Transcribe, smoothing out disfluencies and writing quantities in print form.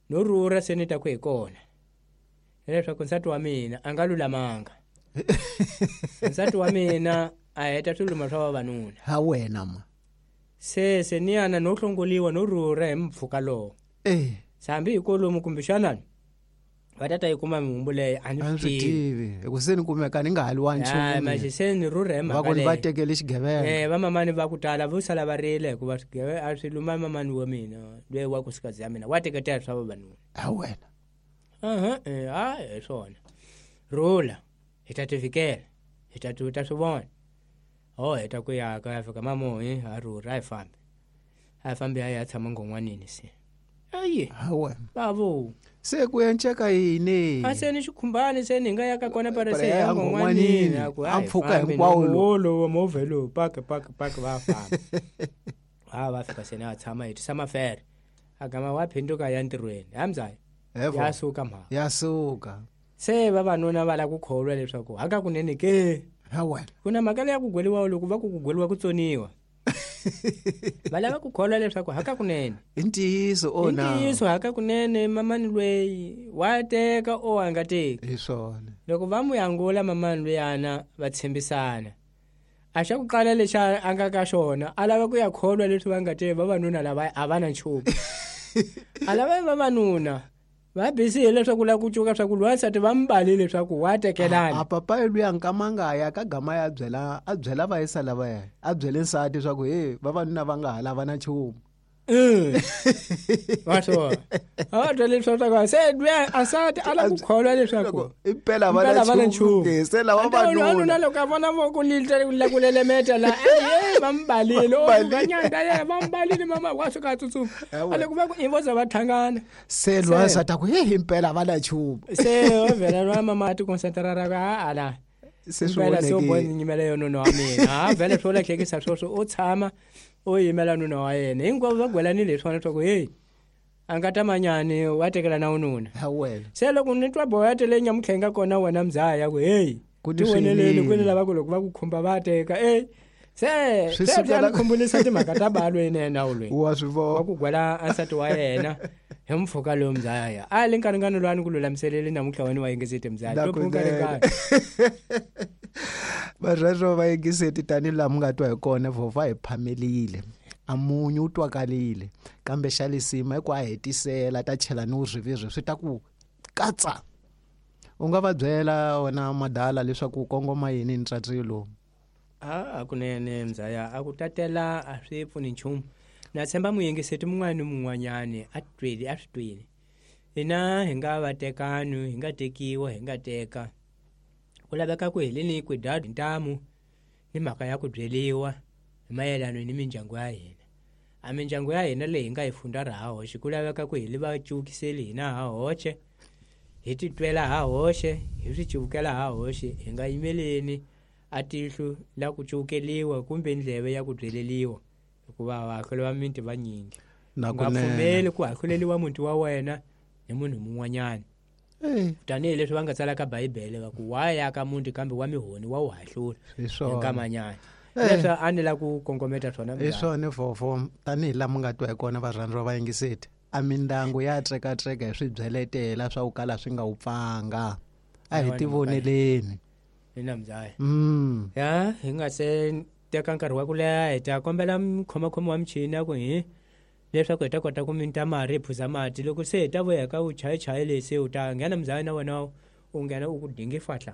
No rhurha se ni ta ku hi kona hileswaku nsati wa mina a nga lulamanga. Nsati wa mina a heta swiluma swa vavanuna. Ha wena ma. Se ni yana no hlongoliwa no rhurha hi mpfhuka lowo. Eh. Hambi hi kolomu kumbexana va ta ta yi kuma mihumbu leyo a ni swi tivi. Hi ku se ni kumeka ni nga hali wa nchumu. Manje se ni rhurha hi mhaka Va ku ni va tekele xigevenga. Vamamani va ku tala vo sala va rile hikuva swigevenga a swi luma mamani wa mina loyi wa nkosikazi ya mina wa teketela swa vavanuna. Ha wena. Aha, hayi hi swona. Rhula hi ta tivikela hi ta ta swi vona. Ho heta ku ya ka ya fika mamohi ha rhurha a hi fambi. A hi fambi a ya tshama ngon'wanini se. Ayi. Ha wena. Bavo. Se ku enceka yini? A se ni xikhumbani se ni nga ya ka kona pare se ya ngon'wanini. A mpfhuka hinkwawo lowo movha lowu paka paka paka va famba. Ha va fika se ni a tshama hi tisa mafere. A gama wa phinduka ya ntirhweni. Hamzayi. Ya suka mhaka. Ya suka. Se vavanuna va lava ku kholwa leswaku hakakunene ke. Ha wena. Ku na mhaka leya ku gweliwa loko va ku ku gweliwa ku tsoniwa. Va lava ku kholwa leswaku hakakunene. I ntiyiso o na. I ntiyiso hakakunene mamani lweyi wa teka o a nga teki. Hi swona. Loko va mu yangula mamani luyana va tshembisana. A xa ku qala lexi a nga ka xona a lava ku ya kholwa leswi va nga te vavanuna lava a va na nchumu. A lava vavanuna va busy hileswaku la ku cuka swa ku lwansati va mbali leswaku wa tekelana. A papayi luya nkama nga ya ka gama ya byela a byela vayisa lavaya a byele nsati swa ku he vavanuna va nga ha lava na nchumu. Va swona. A twa leswi swa se luya a nsati a lava ku kholwa leswaku impela va na nchumu. Se lava vavanuna loko a vona voko la ku lelemeta la e va mbalile o vanyanda ye va mbalile mama wa suka a tsutsuma. A loko va ku i vo za va thangana. Se lwa nsati a ku he impela va na nchumu. Se o vhela lwa mama a ti concentrera ka ala. Se swi se u nyimela yo nuna wa mina. Ha vhele swo lahlekisa sweswo u tshama u yimela nuna wa yena. Hinkwavo va gwelanile hi swona leswaku heyi a nga ta manyani wa tekela na ununa. Ha wena. Se loko ni twa boya tele nyamutlha yi nga kona wena mzaya ya ku heyi ti voneleni kwini lava ku loko va ku khumba va teka e se se swi ni khumbulisa timhaka ta balweni yena ulweni wa swi vona wa ku gwela ansati wa yena hi mpfhuka lowu mzaya a le nkarhi loyi a ni ku lulamiseleli namuntlha wena wa yingiseti mzaya Varhero va yingiseti tanihi laha mi nga twa hi kona vhovha hi phamelile a munyu wu twakalile kambe xa lisima i ku a hetisela ta chela ni vurhivirhi swi ta ku katsa u nga va byela wena madala leswaku u kongoma yini hi ntswatswi lowu. A kunene mzaya a ku tatela a swi pfuni nchumu na tshemba muyingiseti mun'wana ni mun'wanyani a tweli a swi tweli hina hi nga va tekani hi nga tekiwa hi nga teka ku laveka ku heleni ku dya ntamu ni mhaka ya ku byeliwa hi mayelana ni mindyangu ya hina a mindyangu ya hina leyi hi nga yi funda ra ha hoxe ku laveka ku hi li va cuvukiseli hina ha hoxe hi titwela ha hoxe hi swi cuvukela ha hoxe hi nga yimeleni a tihlo la ku cuvukeliwa kumbe ndleve ya ku byeleliwa hikuva vahahluli va miti vanyingi nga pfumeli ku hahluleliwa muti wa wena hi munhu mun'wanyana tanihileswi va nga tsala ka bibele va ku wa ya ka muti kambe wa mihoni wa wu hahlula hi nkamanyana leswi a ni la ku kongometa swona hi swona vhofo tanihi laha mi nga twa hi kona varhandzi va yingiseti a mindyangu ya tsekatseka hi swibyeletela swa ku kala swi nga wu pfanga a hi tivoneleni ina mzaya ya hi nga se teka nkarhi wa ku leha hi ta kombela mukhomakhomi wa michini ya ku hi leswaku hi ta kota ku minta mari hi phuza mati loko se hi ta vuya ka vuchayichayi lesi u ta nghena mzaya na wena u nghena u ku dingi fahla.